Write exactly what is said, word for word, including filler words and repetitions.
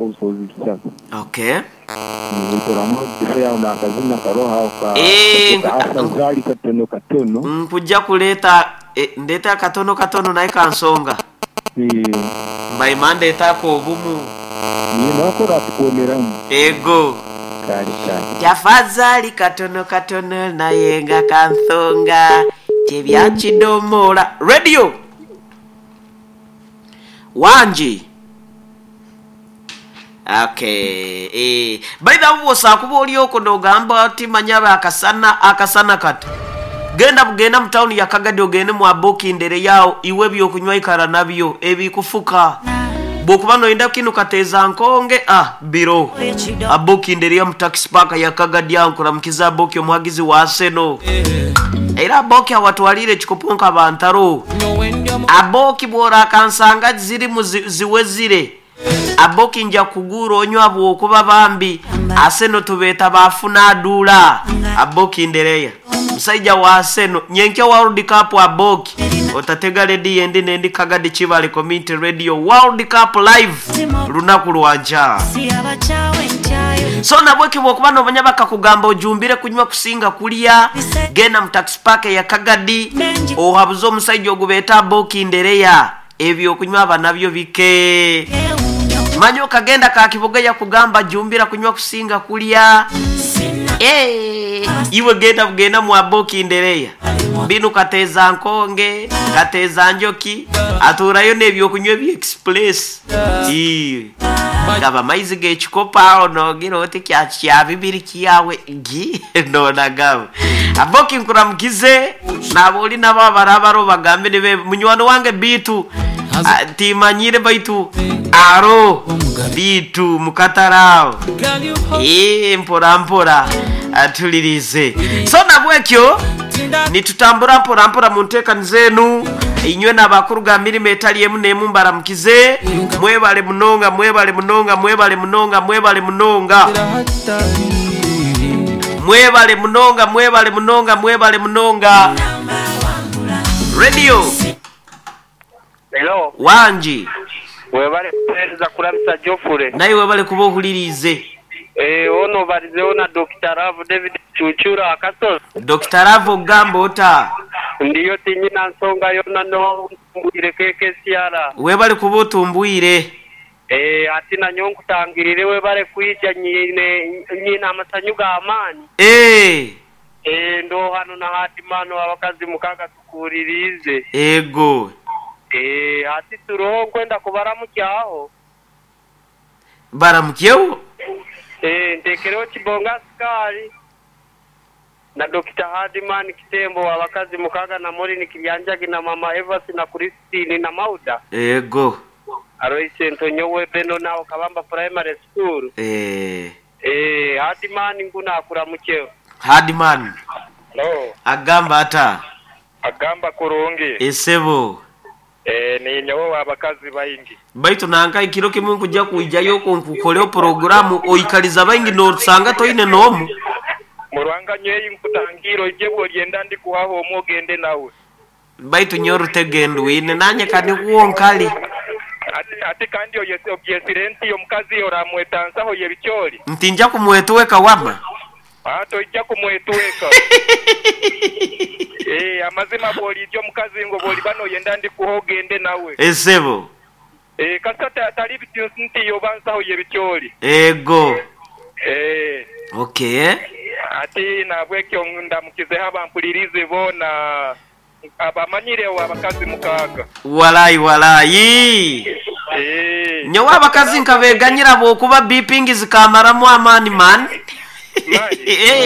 Obusobozi bisatu. Okay. Nituramugise nakazina karoha ka Eh, afadhali katono katono. Nkujja kuleeta eh, ndeeta akatono katono naye kansonga. Eh, mbaima ndeetaako obumu. Ninakora tukuoneramu. Ego. Kale kale. Tafadhali katono katono naye nga kansonga kyebyakidomola radio wangi. Okay, eh by the way, bw'osaakuba oli okwo n'ogamba oti manyaba akasana akasana kati genda bugenda mu tawuni ya Kagadi, ogende mu abokindere yawo iwe ebyokunywa ikara nabyo ebikufuka bwokuba noyenda kinu kateeza nkonge ah biro abokindere ya mu taxi park ya Kagadi awo. Nkuramukiza Aboki, omuhagizi wa Arsenal, era Aboki awatwalire ekikopo nka bantaro. Aboki bw'orakansanga zirimu zi- ziwezire Aboki nja kugura onywa bwokuba bambi Arsenal tubeeta bafuna aduula. Aboki ndereya musajja wa Arsenal nyenkya World Cup. Aboki otatega rediyo endi nendi, Kagadi Kibale Community Radio, World Cup live lunaku lwanca. So nabweki bwokuba nomanya bakakugamba ojumbire kunywa kusinga kulya, genda mu taxi park ya Kagadi ohabuze omusajja ogubeeta Aboki ndereya, ebyokunywa aba nabyo bike manya okagenda kakiboga yakugamba jumbira kunywa kusinga kulya. Eh, iwe genda bugenda mu Aboki ndereya binu kateeza nkonge kateeza njoki aturayo n'ebyokunywa ebya express. Ii. Gaba maizi g'ekikopo awo nogira oti kya kya bibiri kyawe gi nonagaba. Aboki nkuramukize nabo oli nabo abarabaro bagambe nibe munywani wange bitu. Ah, timanyire baitu aro bitu mukatarao. Ee, mpora mpora atulirize. So nabwekyo nitutambura mpora mpora mu nteekani zenu inywe n'abakuru ga mirimo etali emu n'emu, mbaramukize, mwebale munonga, mwebale munonga, mwebale munonga, mwebale munonga, mwebale munonga, mwebale munonga, mwebale munonga. Radio. Hello, wangi. Webale kuweereza kulamisa Geoffrey. Naye webale kuba ohulirize. Eh, ono balizeho na Doctor Love David Chuchura Akasozi. Doctor Love ogamba ota? Ndiyo tinyina nsonga yona no mbwire keke siara. Webale kuba otumbwire. Eh, ati nanyo nkutangirire webale kwija nyine nyina amasanyu g'amaanyi. Eh, Eh, ndo hano na hatimano abakazi mukaga tukuririze. Ego. Eh, ati turoho nkwenda kubaramukyaho. Baramukyewo. Eh, ntekereho Kibonga Sukari na Doctor Hardman Kitembo abakazi mukaga na Morini Kiryanjagi na Mama Evas na Christine na Mauda ego Aloise Ntonyowe Beno nawo Kabamba Primary School. Eh, Eh, Hardman nguna akuramukeho. Hardman. Hello, agamba ata? Agamba kurungi. Esebo. Eh, ni nyowe abakazi baingi. Baitu nanka ekiro kimwe nkujja kwijayo okwo nkukoleho poroguramu oikaliza baingi nosanga toine n'omu. Murwanga nyeyi nkutangiro ije bwolyenda ndi kuhaho omwe ogende nawe. Baitu nyo orutegendwine nanye kanikuwo nkali. Ati, ati kandi oyese obyesire nti omukazi oramwetansaho yebikyoli. Nti nja kumwetweka wama. Ah, toijja kumwetweka. Eh, amazima bw'olijja omukazi ngo bw'oliba noyenda ndi kuha ogende nawe. Esebo. Eh, kasita ta- tali biti nti yoba nsaho yebikyoli. Ego. Eh, Okay. ati nabwekyo ndamukizeho abampulirize boona abamanyirewo abakazi mukaaga. Walayi walayi. Eh. Nyowe abakazi nkabeganyira bwokuba bipingi zikamaramu amaani man. Maani? Eh.